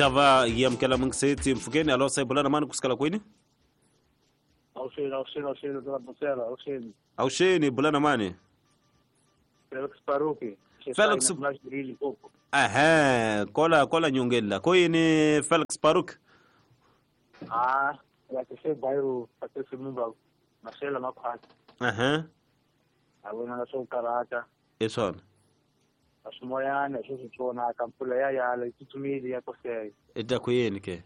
Ta va yi amukela mungiseti mpfhukeni. Alo, sayibulana mani kusukela kwini? Awuxeni, awuxeni, awuxeni, Busela, awuxeni. Awuxeni, bulana mani? Felix Paruki. Felix ehe, kola kola nyongeni la ko yini Felix Paruk? Ah, ya ke se bayo Patrice Lumumba Marcelo Makhwati. Ehe. A vona na swo karata. Hi swona. A swimoyana hi swo swi tsonaka mpfula ya yala yi tsutsumile ya koseka. I ta ku yini ke?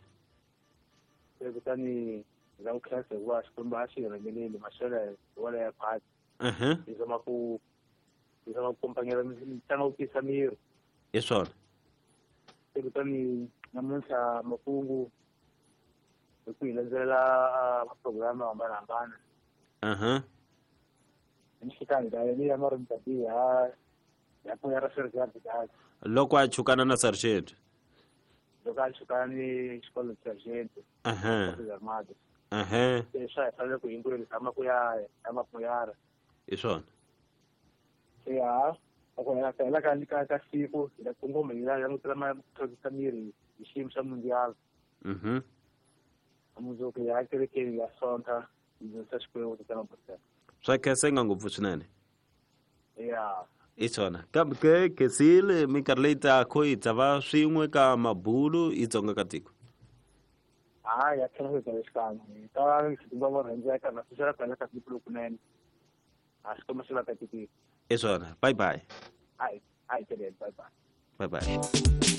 Se kutani hi la ku khensa hikuva Xikwembu a xi hi rhangeleli maxelo hi wona ya khwati. Ehe. Hi zama ku kompanyela mitlangu ku tiyisa miri. Hi swona. Se kutani namuntlha makungu hi ku hi landzelela maprograma yo hambanahambana. Ehe. Hi nhlikani ka yena ya marumtati ya pfuya ra sergeant dad. Loko a chukana na sergeant. Loko a chukana ni xikolo sergeant. Ehe. Armada. Ehe. Se swa hi fanele ku hinkwenu hi tshama ku ya ya mapuyara. Hi swona. Se ha loko hi hela ka siku hi ta kongoma hi langutela ma tlhontlhisa miri hi xiyimo xa mundial. Mundzuku hi ya kerekeni ya Sonta hi dzunisa Xikwembu tatana Busela. Swa khensenga ngopfu swinene. Ya. Hi swona, kambe ke khensile minkarhi leyi taka hi ta va swin'we ka mabulu hi Dzonga ka tiko. Hayi, ya tlhela ku xikan'we hi ta va vo rhandzeka na swi ku hela ka siku lokunene a Xikwembu xi va katekile. Hi swona, bye bye. Hayi, hayi, bye bye. Bye bye.